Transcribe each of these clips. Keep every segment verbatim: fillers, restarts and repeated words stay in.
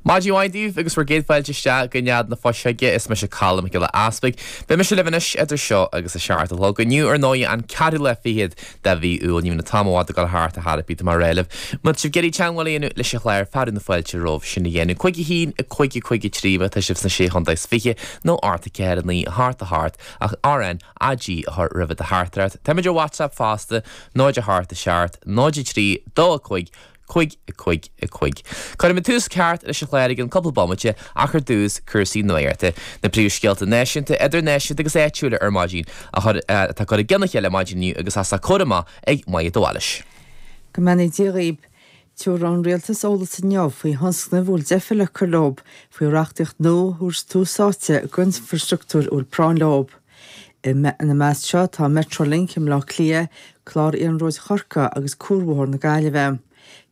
Maidin mhaith daoibh agus bhur gcéad fáilte isteach go Nead na Fuiseoige is mise Colm Mac Giolla Easpaig. Beidh mise libh anois idir seo agus a seacht a chlog inniu ar ndóigh an ceathrú lá fichead de mhí Iúil ní an t-am ag dul thart a tharapí mar réileh. Má sibh ag iarraidh teagmháil a dhéanamh leis an chlár fearadh na fáilte romhaibh sin a dhéanamh cúig a haon a cúig a cúig a trí má tá sibh sna sé chontae is fiche nó ocht a ceathair a naoi a hocht a hocht ach RN AG a chur roimh do theachtaireacht. Táimid ar WhatsApp fosta náid a hocht a seacht náid a trí dó a cúig cúig a cúig a cúig. Cuirfidh mé tús ceart leis an chlár i gceann cúpla bomaite ach ar dtús cúrsaí nuachta. Na príomhscéalta náisiúnta idirnáisiúnta agus áitiúla ar maidin atá curtha i gcionn a chéile maidin inniu agus as a chomh ag Maigh de Bhailis. Go mbeannaí Dia dhaoibh. Tabharfaidh an rialtas eolas inniu faoi thionscnaimh a bhfuil deifir le cur leo faoi reachtaíocht nua a thabhairt tús áite d'infrastruchtúr a bhfuil práinn leo. Ina measc seo tá Metrolink i mBleá Cliath, clár Iarnróid Chorcaí agus Cuarbhóthar na Gaillimhe.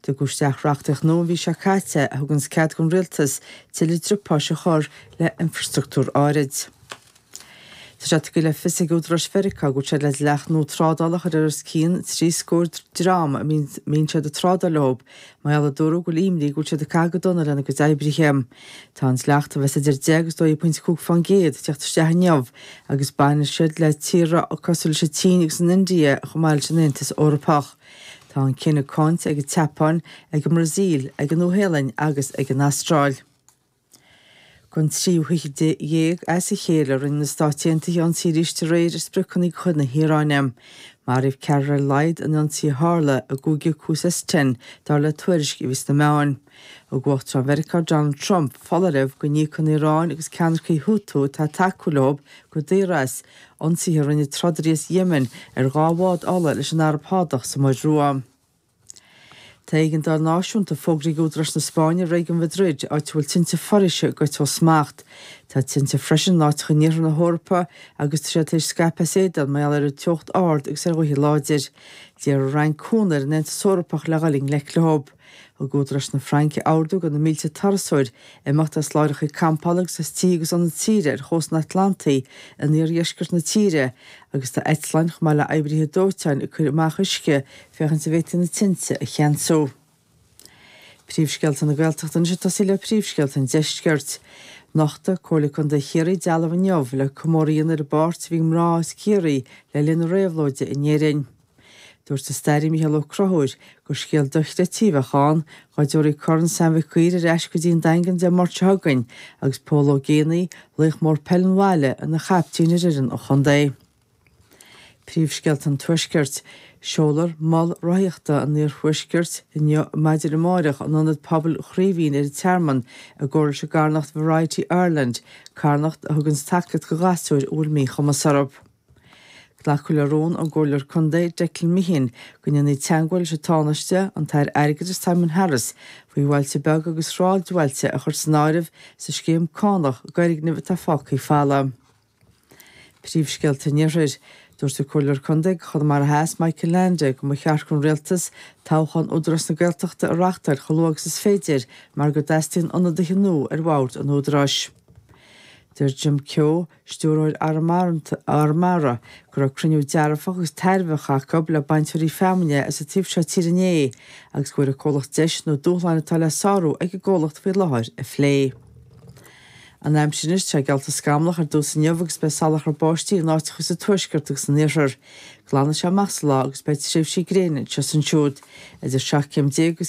Tugadh isteach reachtaíocht nua an mhí seo caite a thugann cead don rialtas tuilleadh driopáis a chur le infrastruchtúr áirid. Tá sé tugtha le fios ag údaráis Mheiriceá go bhfuil siad le dleacht nua trádála a chur ar os cionn trí scór dream a mbíonn siad ag trádáil leo, mar gheall a dúradh go bhfuil imní go bhfuil siad ag caitheamh go dona lena gcuid oibrithe. Tá an dleacht a bheas idir deich agus dó dhéag pointe cúig faoin gcéad ag teacht isteach inniu agus baineann siad le tíortha cosúil leis an tSín agus an India chomh maith leis an Aontas Eorpach. Tá an cinneadh cáinte ag an tSeapáin, ag an mBrasaíl, ag an Nua-Shéalainn agus ag an Astráil. Don tríú hoíche déag as a chéile rinne na Stáit Aontaithe ionsaí arís aréir ar spriocanna de chuid na hIaráine. Maraíodh ceathrar ar a laghad in ionsaí a tharla i gcúige Khuzestan dar le tuairisc a bhí sna meáin. Thug Uachtarán Mheiriceá Donald Trump foláireamh go n-íocfaidh an Iaráin agus ceannaircigh Houthi atá ag tacú leo go daor as ionsaithe a rinne trodairí as Yemen ar dhá bhád ola leis an Araib Shádach sa Muir Rua. Tá éigeandáil náisiúnta fógraithe ag údaráis na Spáinne i réigiún Mhadrid, áit a bhfuil tinte foraoise ag goit ó smacht. Tá tinte freisin in áiteacha in iarthar na hEorpa agus tá siad tar éis scaipeadh as éadan mar gheall ar an teocht ard agus ar ghaotha láidir. D'iarr an Fhrainc cúnamh ar an Aontas Eorpach le dhul i ngleic leo. Thug údaráis na Fraince ordú do na mílte turasóir imeacht as láithreacha campála agus as tithe agus ionaid saoire ar chósta an Atlantaigh in iardheisceart na tíre agus tá eitleáin chomh maith le oibrithe dóiteáin ag cur amach uisce féachaint an bhféadfaí na tinte a cheansú. Príomhscéalta na Gaeltachta anois ag tosaí le príomhscéalta an deiscirt. Nochtfaidh Comhairle Contae Chiarraí dealbh inniu le comóradh a dhéanamh ar an bpáirt a bhí ag mná as Ciarraí le linn na réabhlóide in Éirinn. Dúirt an staraí Micheál Ó Conchúir gur scéal dochreidte a bheadh ann dá dtabharfaí Corn Sam Mhic Uidhir ar ais go dtí an Daingean Dé Máirt seo chugainn agus Pól Ó Géibheannaigh, laoch mór peile an bhaile, ina chaiptín ar fhoireann an chontae. Príomhscéalta an Tuaiscirt. Seolfar mol rothaíochta an Iarthuaiscirt inniu maidin amárach in ionad pobail Chraoibhín ar an Tearmann i gcomhar leis an gcarthanacht Variety Ireland, carthanacht a thugann tacaíocht do ghasúir a bhfuil míchumas orthu. Glacadh le rún ón gComhairleoir Contae Declan Meehan go ndéanfaí teagmháil leis an Tánaiste, an tAire Airgeadais Simon Harris, faoi bhailte beaga agus sráidbhailte a chur san áireamh sa scéim cánach d'fhoirgnimh atá fágtha folamh. Príomhscéalta an Iarthair. Dúirt an Comhairleoir Contae do Chonamara Theas Michael Leainde go mba cheart don rialtas toghchán Údarás na Gaeltachta a reáchtáil chomh luath agus is féidir mar go dteastaíonn ionadaithe nua ar bhord an Údaráis. Deir Jim Keogh, stiúrthóir Arramara, go raibh cruinniú dearfach agus tairbheach acu le bainteoirí feamainne as an taobh seo tíre inné agus go bhfuair an comhlacht deis na dúshláin atá le sárú ag an gcomhlacht faoi láthair a phlé. An aimsir anois tá geallta scamallach ar dtús inniu agus beidh salachar báistí in áiteacha sa tuaisceart agus san iarthar. Glanfaidh sé amach sa lá agus beidh tréimhsí gréine anseo is ansiúd idir seacht céim déag agus